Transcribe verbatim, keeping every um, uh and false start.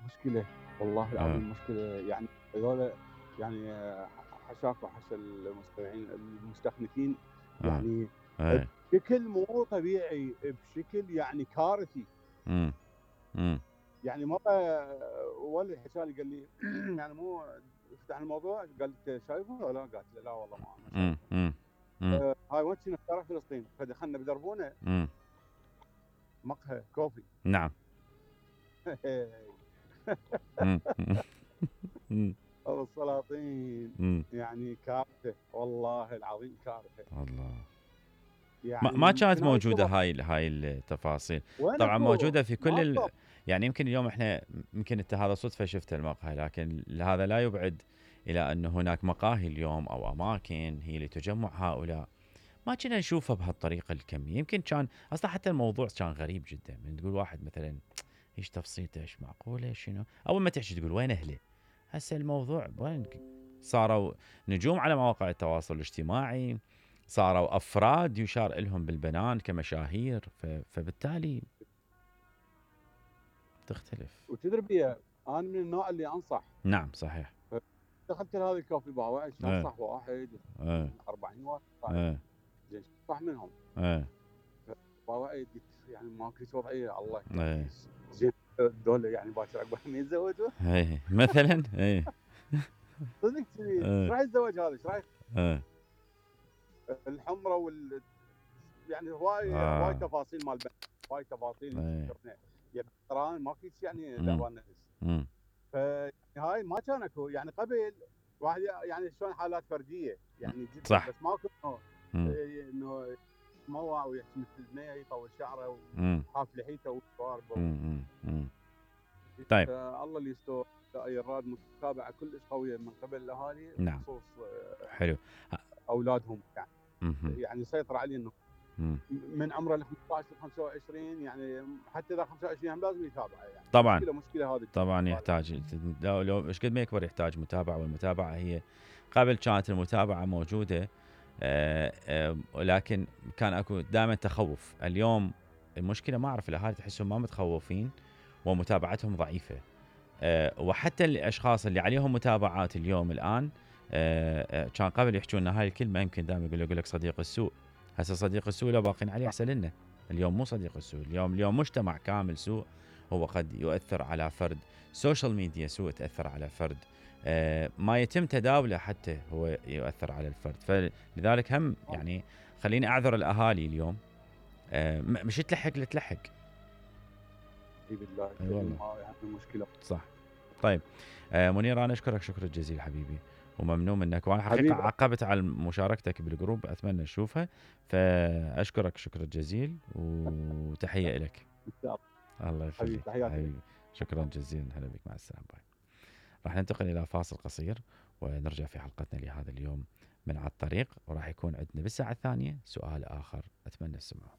مشكلة، والله آه. العظيم مشكلة. يعني هذولا يعني حاشاك وحاشا المستمعين المستخلفين، آه. يعني إيه. بشكل مو طبيعي، بشكل يعني كارثي. إمم. إمم. يعني مرة ولد حكى لي قال لي يعني مو فتح الموضوع قال لي: "أنت شايفه والّا لا؟" قالت له: "لا والله ما ما إمم. شايفه." إمم. إمم. آآ هاي وين كنا في شارع فلسطين، فدخلنا بدربونة إمم. مقهى كوفي. نعم. إمم. إمم. أبو السلاطين إمم. يعني كارثة، والله العظيم كارثة. الله! ما يعني ما يمكن كانت هاي موجودة الصور هاي ال هاي التفاصيل. وين طبعًا اكو؟ موجودة في كل ماكو. ال يعني يمكن اليوم إحنا يمكن أنت هذا صدفة شفت المقهى، لكن هذا لا يبعد إلى أن هناك مقاهي اليوم أو أماكن هي لتجمع هؤلاء. ما كنا نشوفها بهالطريقة الكمية، يمكن كان أصلًا حتى الموضوع كان غريب جدًا، من تقول واحد مثلًا ايش تفصيلته، ايش معقولة شنو؟ أول ما تحكي تقول وين أهله؟ هسه الموضوع وين صاروا نجوم على مواقع التواصل الاجتماعي، صاروا أفراد يشار إلهم بالبنان كمشاهير، ف... فبالتالي تختلف. وتدري بيها انا من النوع اللي انصح. نعم صحيح. دخلت لهذه الكوفي بار واحد ايه انصح واحد ايه من أربعين واحد قاعد. ايه زين صح منهم. ايه بار واحد قلت يعني ماكو هيك وضعيه الله يعني. ايه زين دول يعني باكر عقبال ما يتزوجوا. ايه مثلا ايه صدق كذي ايش ايه راح يتزوج هذا؟ ايش راح ايه الحمره وال يعني هواي هواي آه تفاصيل مال بنات، هواي تفاصيل ايه شفنا. يعني ترى ماكو شيء يعني امم دعوان نفس. امم فهاي ما كان اكو يعني قبل واحد يعني شلون حالات فرديه يعني جدا، صح. بس ماكو انه امم انه يتموع ويحكي مثل البنيه يطول شعره امم وحاف لحيته وشواربه. امم امم طيب. فالله اللي يستر. اي الراد متابعه كلش قويه من قبل الاهالي نعم. بخصوص حلو. اولادهم يعني. اها. يعني يسيطر عليه انه امم من عمره ال خمسطعش ل خمسة وعشرين يعني حتى اذا خمسة وعشرين هم لازم يتابعه يعني. طبعا. مشكله مشكله هذه. طبعا يحتاج، لو لو ايش قد ما يكبر يحتاج متابعه، والمتابعه هي قبل كانت المتابعه موجوده. آه، آه، ولكن كان اكو دائما تخوف. اليوم المشكله ما اعرف الاهالي تحسهم ما متخوفين ومتابعتهم ضعيفه. آه، وحتى الاشخاص اللي عليهم متابعات اليوم الان، آه، آه، كان قبل يحكون لنا هاي الكلمه، يمكن دائما يقول يقول لك صديق السوء. هسه صديق السوء لو باقين عليه احسن لنا. اليوم مو صديق السوء، اليوم اليوم مجتمع كامل سوء. هو قد يؤثر على فرد، سوشيال ميديا سوء تاثر على فرد، آه، ما يتم تداوله حتى هو يؤثر على الفرد. فلذلك هم يعني خليني اعذر الاهالي اليوم، آه، مش تلحق تلحق. اي بالله اي أيوة والله. الكريم هاي يعني مشكله. صح. طيب آه منير، انا اشكرك شكر الجزيل حبيبي، وممنون منك، وانا حقيقه حبيبي عقبت على مشاركتك بالجروب، اتمنى اشوفها. فاشكرك شكر الجزيل وتحيه لك. ان شاء الله. الله حبيبي يخليك تحياتي لك. حبيبي. شكرا جزيلا، هلا بك، مع السلامه، باي. راح ننتقل الى فاصل قصير ونرجع في حلقتنا لهذا اليوم من على الطريق، وراح يكون عندنا بالساعه الثانيه سؤال اخر اتمنى السماع.